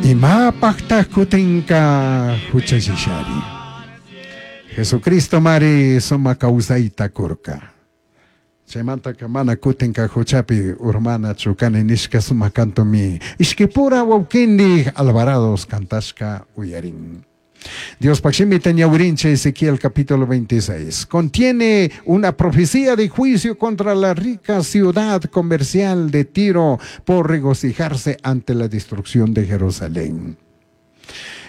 Imapajtaj kutinka huchallishari? Jesucristo mari sumak kawsayta kurka. Chaymantaka mana kutinka huchapi urmanachu kani nishka sumak kantumi ishkipura wawkindik Alvarados kantashka uyarin. Diospaj shimita ñawirinchik Ezequiel capítulo 26. Contiene una profecía de juicio contra la rica ciudad comercial de Tiro por regocijarse ante la destrucción de Jerusalén.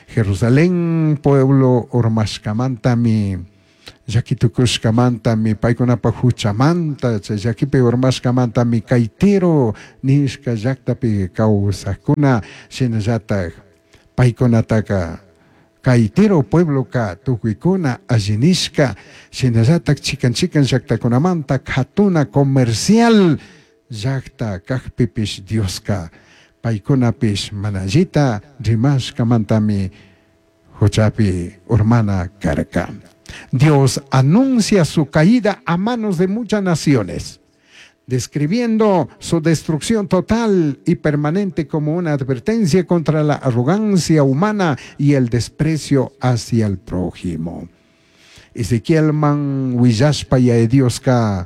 Jerusalén pueblo urmashkamantami llaki tukushkamantami paykunapaj huchamanta chay llakipi urmashkamantami kay Tiro nishka llaktapi kawsakuna shinallatak paykunataka kay Tiro puebloka tukuykuna alli nishka shinallatak chikan chikan llaktakunamanta katuna comercial llakta kakpipish Dioska paykunapish mana allita rimashkamantami huchapi urmana karka. Dios anuncia su caída a manos de muchas naciones, describiendo su destrucción total y permanente como una advertencia contra la arrogancia humana y el desprecio hacia el prójimo. Ezequielman willashpa Yaya Dioska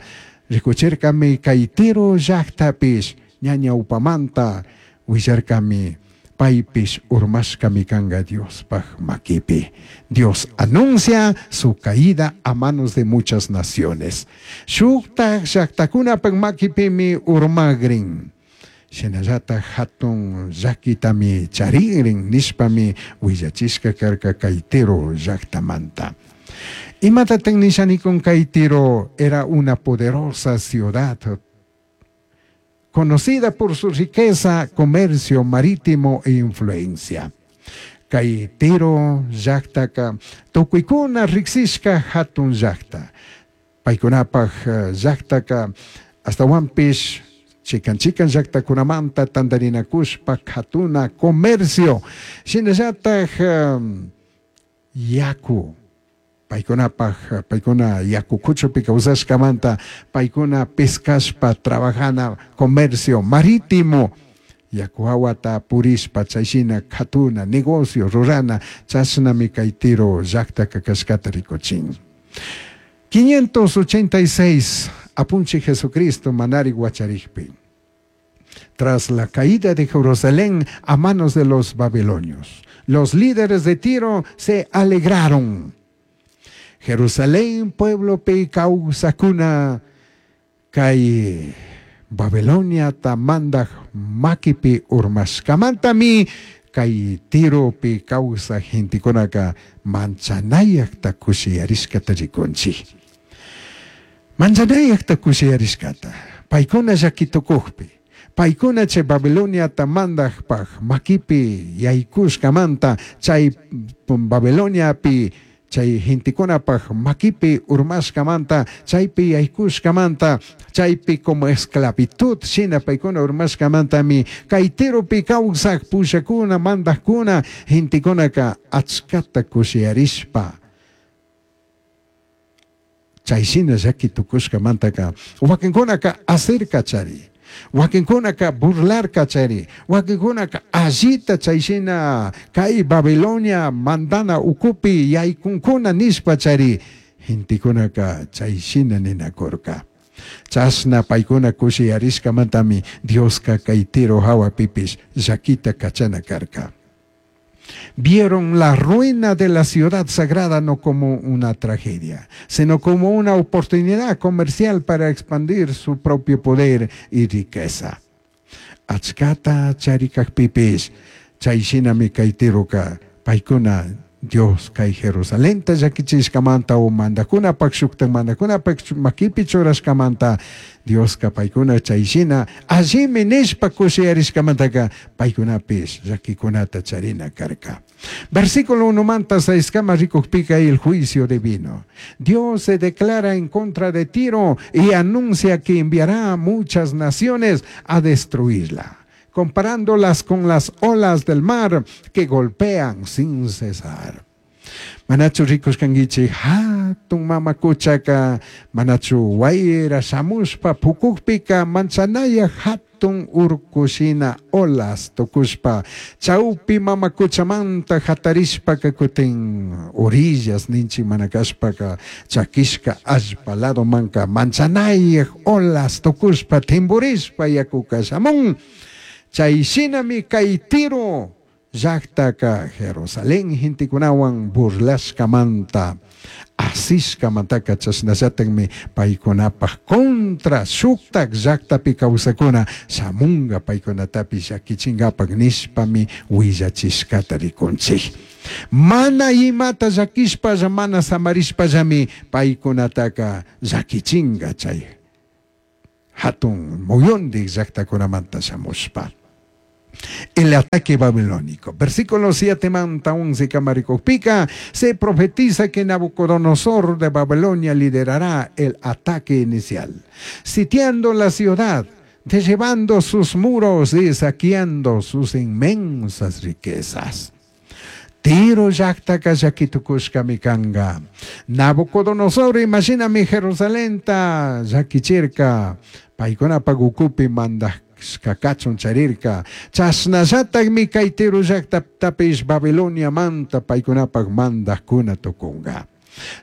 rikuchirkami kay Tiro llaktapish ña ñawpamanta willarkami paypish urmashkami kanga Diospaj makipi. Dios anuncia su caída a manos de muchas naciones. Shuktaj llaktakunapaj makipimi urmagrin. Shinallataj hatun llakitami charigrin nishpami willachishka karka kay Tiro llaktamanta. Imatatak nishanikun kay Tiro era una poderosa ciudad conocida por su riqueza, comercio marítimo e influencia. Kay Tiro llaktaka tukuykuna riksishka hatun llakta. Paykunapaj llaktaka astawanpish chikan chikan llaktakunamanta tantarinakushpa katuna comercio shinallataj yaku paykunapaj paykuna yaku kuchupi kawsashkamanta paykuna pescashpa trabajana comercio marítimo yaku hawata purishpa chayshina katuna negocio rurana chashnami kay Tiro llaktaka kashkata rikuchin. 586 Apunchik Jesucristo manari wacharikpi. Tras la caída de Jerusalén a manos de los babilonios, los líderes de Tiro se alegraron. Jerusalén pueblopi kawsakuna kay Babiloniata mandaj makipi urmashkamantami kay Tiropi kawsaj gentekunaka manchanayakta kushiyarishkata rikunchik. Manchanayakta kushiyarishkata paykuna llaki tukukpi paykuna chay Babiloniata mandajpaj makipi yaykushkamanta chay Babiloniapi chay gentekunapaj makipi urmashkamanta chaypi yaykushkamanta chaypi como esclavitud shina paykuna urmashkamantami kay Tiropi kawsaj pushakuna mandajkuna gentekunaka achkata kushiyarishpa chay shina llaki tukushkamantaka wakinkunaka asirkachari wakinkunaka burlarkachari wakinkunaka allita chay shina kay Babilonia mandana ukupi yaykunkuna nishpa chari gentekunaka chay shina ninakurka. Chashna paykuna kushiyarishkamantami Dioska kay Tiro hawapipish llakita kachana karka. Vieron la ruina de la ciudad sagrada no como una tragedia, sino como una oportunidad comercial para expandir su propio poder y riqueza. Achkata charikakpipish, chay shinami kay Tiroka paykuna Dios kay Jerusalenta llakichishkamanta o mandakunapak shuktak mandakunapak makipi churashkamanta Dioska paykuna chay shina allimi nishpa kushiyarishkamantaka paykunapish llakikunata charina karka. Versículo 1 manta 6 kama rikukpika el juicio divino. Dios se declara en contra de Tiro y anuncia que enviará a muchas naciones a destruirla, comparándolas con las olas del mar que golpean sin cesar. Manachu rikushkankichik hatun mama kuchaka manachu wayra shamushpa pukukpika manchanaya hatun Jatun urku shina olas tukushpa chawpi mama kuchamanta hatarishpaka kutin orillas ninchik mana kashpaka chakishka allpa ladomanka manchanayaj olas tukushpa timburishpa yakuka shamun. Chay shinami kay Tiro llaktaka Jerusalén gentekunawan burlashkamanta asishkamantaka chashnallatakmi paykunapaj contra shuktak llaktapi kawsakuna shamunga paykunatapish llakichinkapak nishpami willachishkata rikunchik. Mana imata llakishpalla mana samarishpallami paykunataka llakichinga chay hatun muyundik llaktakunamanta shamushpa. El ataque babilónico. Versículo 7 manta 11 kamarikukpika, se profetiza que Nabucodonosor de Babilonia liderará el ataque inicial, sitiando la ciudad, derribando sus muros y saqueando sus inmensas riquezas. Tiro llaktaka llakitukushkami kanga. Nabucodonosor, imashinami Jerusalenta llakichirka, paykunapak ukupi mandashka kachun charirka. Chashnallatakmi kay Tiro llaktatapish Babiloniamanta paykunapak mandajkuna tukunga.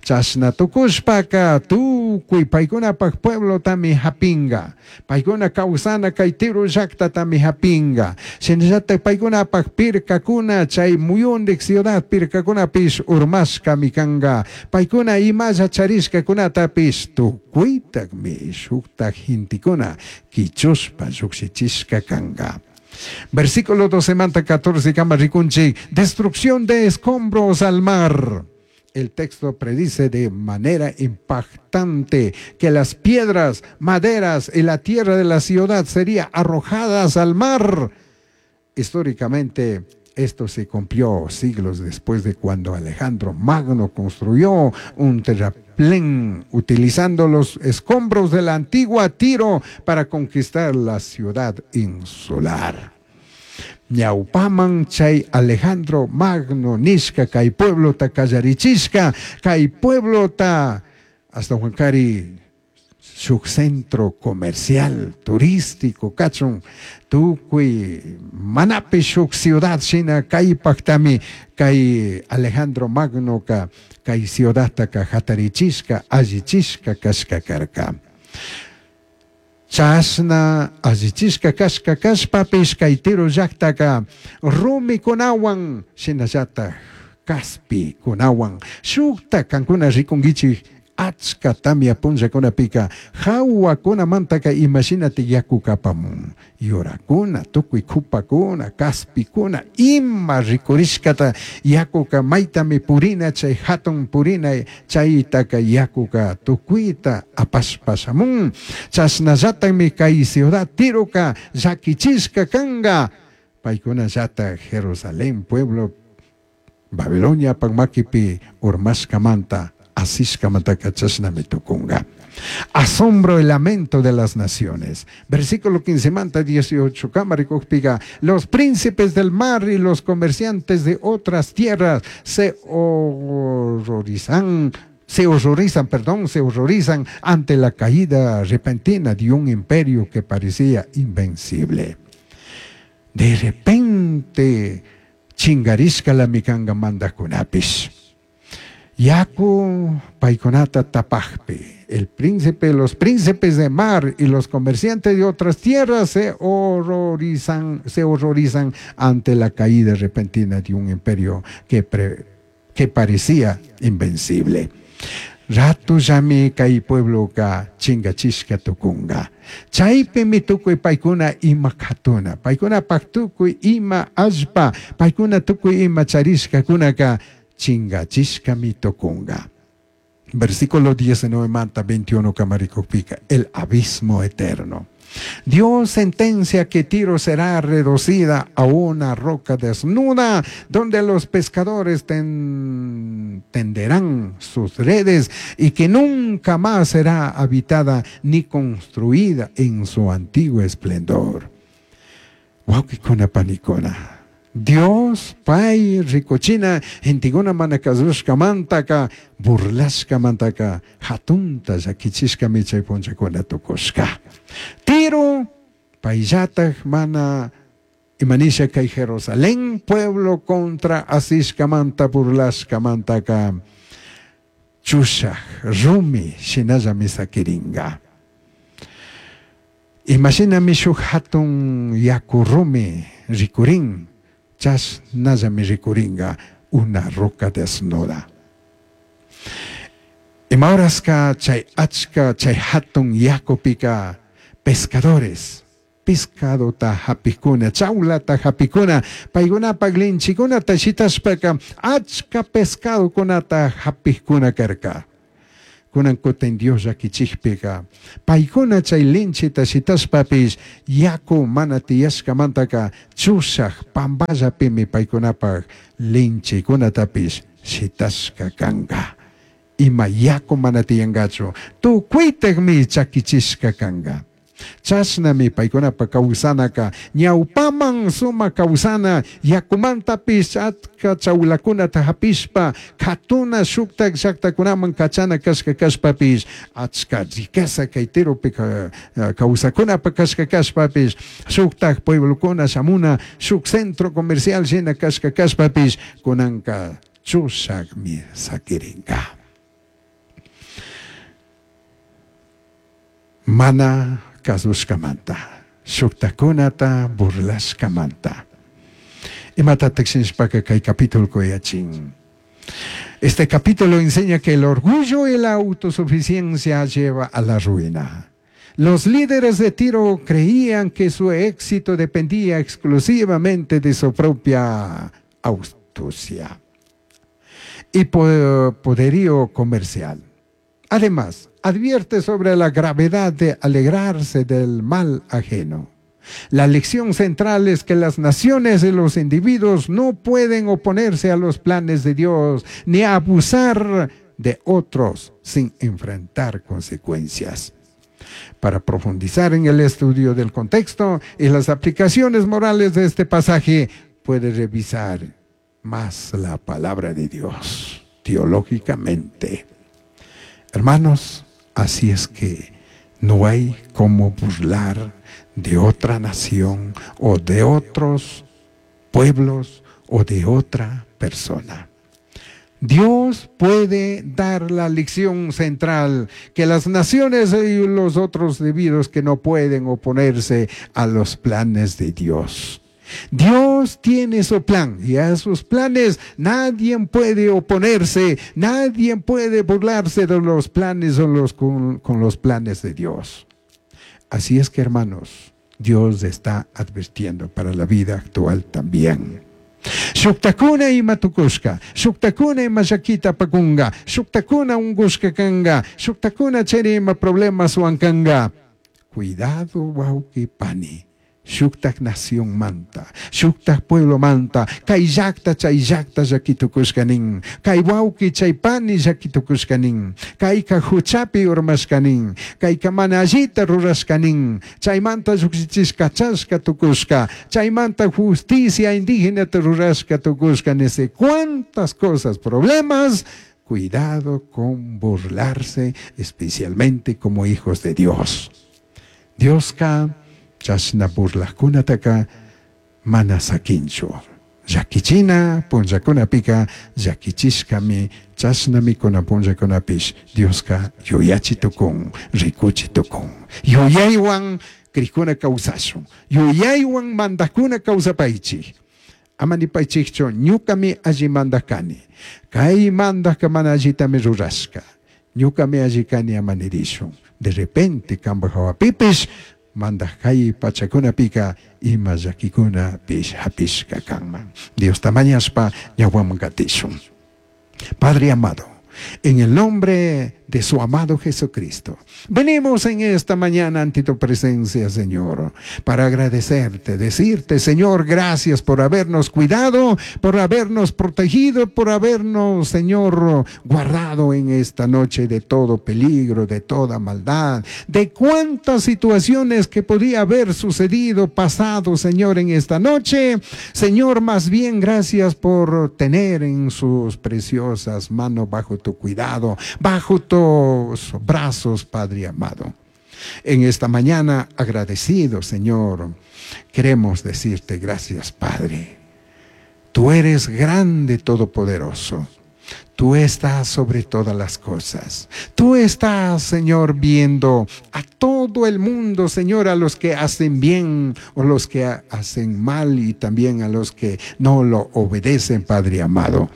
Chashna tukushpaka tukuy paykunapak pueblotami hapinga. Paykuna kawsana kay Tiro llaktatami hapinga. Shinallatak paykunapak pirkakuna chay muyundik ciudad pirkakunapish urmashkami kanga. Paykuna imalla charishkakunatapish tukuytakmi shuktak gentekuna kichushpa llukshichishka kanga. Versículo 12 manta 14 kama rikunchik, destrucción de escombros al mar. El texto predice de manera impactante que las piedras, maderas y la tierra de la ciudad serían arrojadas al mar. Históricamente, esto se cumplió siglos después de cuando Alejandro Magno construyó un terraplén utilizando los escombros de la antigua Tiro para conquistar la ciudad insular. Ñawpaman chay Alejandro Magno nishka kay pueblota kallarichishka kay pueblota hasta Huancari shuk centro comercial turístico kachun tukuy manapi shuk ciudad shina kaypaktami kay Alejandro Magno ka kay ciudadtaka hatarichishka allichishka kashka karka. Chashna allichishka kashka kashpapish kay Tiro llaktaka rumikunawan shinallatak kaspikunawan shukta kankuna rikunkichik achka tamya punllakunapika hawakunamantaka imashinati yakuka apamun yurakuna tukuy kupakuna kaspikuna ima rikurishkata yakuka maytami purina chay hatun purina chaytaka yakuka tukuyta apashpa shamun. Chashnallatakmi kay ciudad Tiroka llakichishka kanga paykunallata Jerusalén pueblo Babilonia makipi urmashkamanta asishkamantaka chashnami tukunga. Asombro y lamento de las naciones. Versículo 15 manta 18 kama rikukpiga, los príncipes del mar y los comerciantes de otras tierras se horrorizan, perdón, se horrorizan ante la caída repentina de un imperio que parecía invencible. De repente, chingarishka la mikanga mandakunapish. Yaku paykunata tapajpi, el príncipe, los príncipes de mar y los comerciantes de otras tierras se horrorizan ante la caída repentina de un imperio que parecía invencible. Ratu llami kay pueblo ka chingachishka tukunga. Chaypimi tukuy paykuna ima katuna, paykuna tukuy ima allpa, paykuna tukuy ima charishkakunaka chingachishkami tukunga. Versículo 19 manta 21 kamarikukpika, el abismo eterno. Dios sentencia que Tiro será reducida a una roca desnuda, donde los pescadores tenderán sus redes y que nunca más será habitada ni construida en su antiguo esplendor. Wawqikuna panikuna. Dios, pay rikuchina, gentekuna mana kasushkamantaka, burlashkamantaka, hatunta llakichishkami chay punllakuna tukushka. Tiro Payllataj mana imanisha kay Jerusalén pueblo contra asishkamanta burlashkamantaka chushaj rumi shinallami sakiringa. Imashinami shuk hatun yaku rumi rikurin, chashnallami rikuringa una roca desnuda. Ima horaska chay achka chay hatun yakupika pescadores pescadota hapikuna, chawlata hapikuna, paykunapak linchikunata shitashpaka achka pescadokunata hapikuna karka. Kunan kutin Dios llakichikpika paykuna chay linchita shitashpapish yaku mana tiyashkamantaka chushak pampallapimi paykunapak linchikunatapish shitashka kanka. Ima yaku mana tiyankachu tukuytakmi chakichishka kanka. Chashnami paykunapa kawsanaka ñawpaman sumak kawsana yakumantapish achka chawlakunata hapishpa katuna shuktak llaktakunaman kachana kashka kashpapish achka riqueza kay Tiropi kawsakunapa kashka kashpapish shuktak pueblokuna shamuna shuk centro comercial shina kashka kashpapish kunanka chushakmi sakirinka. Mana kasushkamanta, shuktakunata burlashkamanta. Imatatak shinashpaka kay capítulo yachin. Este capítulo enseña que el orgullo y la autosuficiencia lleva a la ruina. Los líderes de Tiro creían que su éxito dependía exclusivamente de su propia astucia y poderío comercial. Además, advierte sobre la gravedad de alegrarse del mal ajeno. La lección central es que las naciones y los individuos no pueden oponerse a los planes de Dios ni abusar de otros sin enfrentar consecuencias. Para profundizar en el estudio del contexto y las aplicaciones morales de este pasaje, puede revisar más la palabra de Dios teológicamente. Hermanos, así es que no hay como burlar de otra nación o de otros pueblos o de otra persona. Dios puede dar la lección central que las naciones y los otros debidos que no pueden oponerse a los planes de Dios. Dios tiene su plan y a sus planes nadie puede oponerse, nadie puede burlarse de los planes o con los planes de Dios. Así es que, hermanos, Dios está advirtiendo para la vida actual también. Shuktakuna ima tukushka, shuktakuna ima llakita apakunga, shuktakuna ungushka kanga, shuktakuna chari ima problemaswan kanga. Cuidado, wawqi pani. Shuktak nación manta, shuktak pueblo manta, kay llakta chay llakta llakitukushka nin, kay wawqi chay pani llakitukushka nin, kayka huchapi urmashka nin, kayka mana allita rurashka nin, chaymanta llukshichishka chashka tukushka, chaymanta justicia indígena rurashka tukushka, ni sé cuántas cosas, problemas. Cuidado con burlarse, especialmente como hijos de Dios. Dioska chashna burlajkunataka mana sakinchu. Llakichina punllakunapika llakichishkami chashnami kunan punllakunapish Dioska yuyachi tukun, rikuchi tukun. Yuyaywan krikuna kawsashun, yuyaywan mandakuna kawsapaychik. Ama nipaychikchu ñukami alli mandak kani, kay mandajka mana allitami rurashka, ñukami alli kani ama nirishun. De repente kanpak hawapipish mandaj kay pachakunapika ima llakikunapish hapishka kanman. Diosta mañashpa ñawpaman katishun. Padre amado, en el nombre de su amado Jesucristo, venimos en esta mañana ante tu presencia, Señor, para agradecerte, decirte, Señor, gracias por habernos cuidado, por habernos protegido, por habernos, Señor, guardado en esta noche de todo peligro, de toda maldad, de cuántas situaciones que podía haber sucedido, pasado, Señor, en esta noche. Señor, más bien gracias por tener en sus preciosas manos bajo tu cuidado, bajo tu brazos, Padre amado. En esta mañana, agradecido, Señor, queremos decirte gracias, Padre. Tú eres grande, todopoderoso. Tú estás sobre todas las cosas. Tú estás, Señor, viendo a todo el mundo, Señor, a los que hacen bien o los que hacen mal y también a los que no lo obedecen, Padre amado.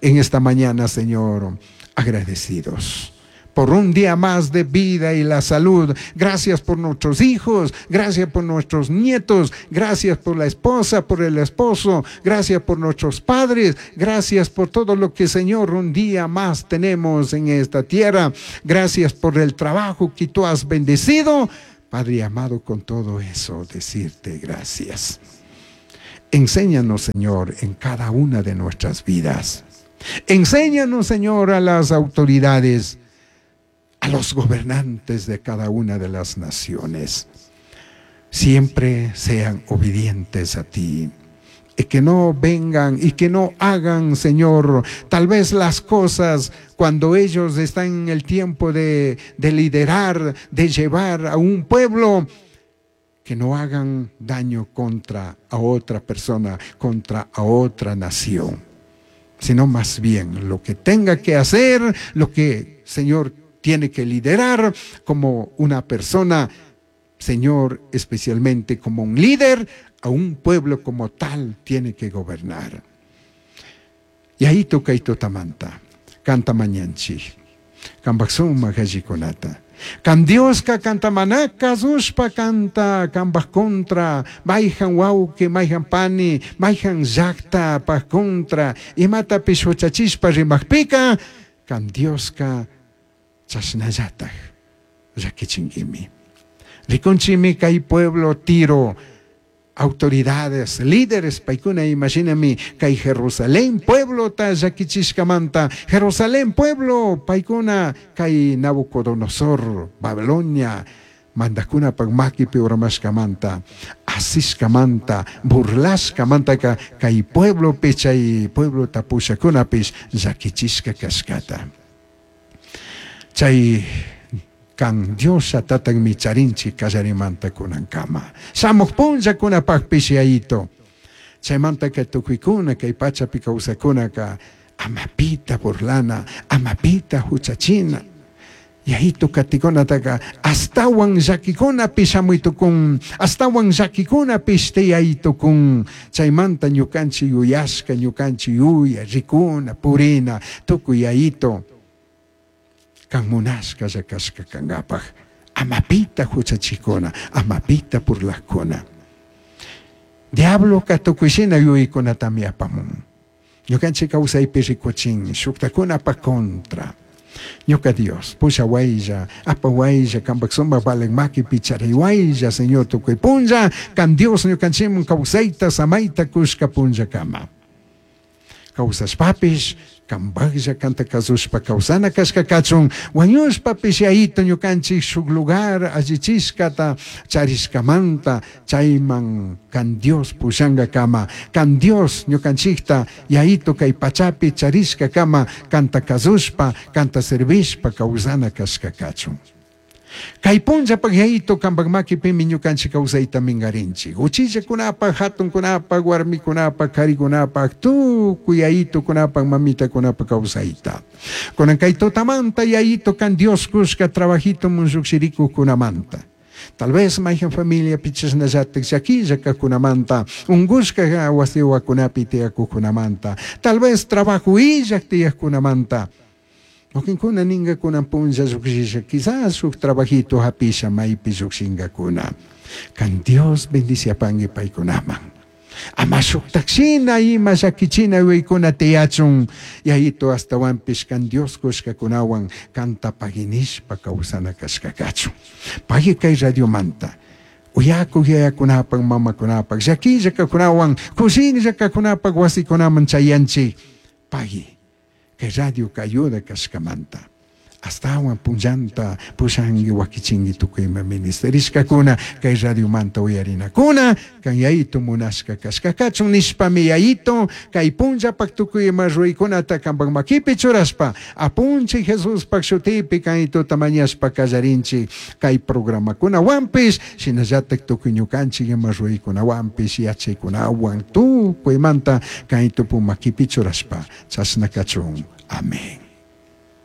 En esta mañana, Señor, agradecidos por un día más de vida y la salud. Gracias por nuestros hijos, gracias por nuestros nietos, gracias por la esposa, por el esposo, gracias por nuestros padres, gracias por todo lo que, Señor, un día más tenemos en esta tierra. Gracias por el trabajo que tú has bendecido. Padre amado, con todo eso, decirte gracias. Enséñanos, Señor, en cada una de nuestras vidas. Enséñanos, Señor, a las autoridades, a los gobernantes de cada una de las naciones. Siempre sean obedientes a ti. Y que no vengan y que no hagan, Señor, tal vez las cosas cuando ellos están en el tiempo de liderar, de llevar a un pueblo, que no hagan daño contra a otra persona, contra a otra nación, sino más bien lo que tenga que hacer, lo que, Señor, tiene que liderar como una persona, Señor, especialmente como un líder, a un pueblo como tal tiene que gobernar. Y ahí toca y totamanta, canta mañanchi, cambaxuma galliconata. Kan Dioska canta manaka, zushpa canta, kambaj contra, mayhan wauki, mayhan pani, mayhan llakta paj contra, imatapish huchachishpa rimajpika, kan Dioska chashnallataj llakichinkimi. Rikunchimi kay pueblo Tiro, autoridades, líderes, paykuna imaginami kay Jerusalén pueblo ta llakichishkamanta, Jerusalén pueblo paykuna kay Nabucodonosor, Babilonia, mandakunapaq makipi urmashkamanta, asishkamanta, burlashkamantaka kay pueblopi chay pueblota pushakunapish llakichishka kashkata. Chay kan Dios tatanmi charinchik kallarimanta kunankama. Shamuq punllakunapaqpish yayito. Chaymantaka tukuykuna kay pachapi kawsakunaka amapita burlana, amapita huchachina. Yayito katikunataka astawan llakikunapi shamuytukun, astawan llakikunapish tiyaytukun. Chaymanta ñukanchik yuyashka, ñukanchik yuya, rikuna, purina, tukuy yayito. Kan munashka llakashka kankapaq, amapita huchachikuna, amapita burlakuna. Diabloka tukuyshina yuyaykunatami apamun. Ñukanchik kawsaypi rikuchin shuktakunapaq contra. Ñuka Dios, pushawaylla, apawaylla, kampak sumak valen makipi chariwaylla, Señor, tukuy punlla, kan Dios ñukanchikman kawsayta, samayta kushka punllakama. Kawsashpapish, kambaklla kanta kasushpa kawsana kashka kachun, wañushpapish yayito ñukanchik shuk lugar allichishkata charishkamanta, chayman kan Dios pushankakama, kan Dios ñukanchikta yayito kay pachapi charishkakama, kanta kasushpa, kanta servishpa kawsana kashka kachun. Kay punllapaq yayito kampak makipimi ñukanchik kawsayta minkarinchik. Uchillakunapaq, hatunkunapaq, warmikunapaq, karikunapaq, tukuy yayitukunapaq, mamitakunapaq kawsayta. Kunan kay tutamanta yayito kan Dios kushka trabajito munlluqshirikuqkunamanta. Tal vez mayhan familia pichashnallatik llakilla kaqkunamanta, unqushka wasiwakunapi tiyakukkunamanta, tal vez trabajo illaq tiyaqkunamanta. Wakinkuna ninkakuna punlla llukshisha, quizás shuk trabajito hapisha maypi llukshinkakuna. Kan Dios bendiciapanki paykunaman. Ama shuktakshina ima llakichina yuyaykuna tiyachun, yayito astawanpish kan Dios kushkakunawan kanta paginishpa kawsana kashkakachun. Pagi kay radiomanta. Uyakuq yayakunapaq, mamakunapaq, llakilla kakunawan, kushinlla kakunapaq wasikunaman chayanchik. Pagi. Kay radio kayuda kashkamanta. Ashtahuan punllanta pushanqui waquichinqui tucui ima ministerishcacuna cai radiomanta uyarinacuna can Yayitu munashca cashca cachun nishpami Yayitu cai punllapak tucui ima ruraicunata campak maquipi churashpa Apunchij Jesuspak shutipi can Yayituta mañashpa callarinchij cai programacunahuanpish shinallataj tucui ñucanchij ima ruraicunahuanpish yachaicunahuan tucuimanta can Yayitupu maquipi churashpa chashna cachun. Amén.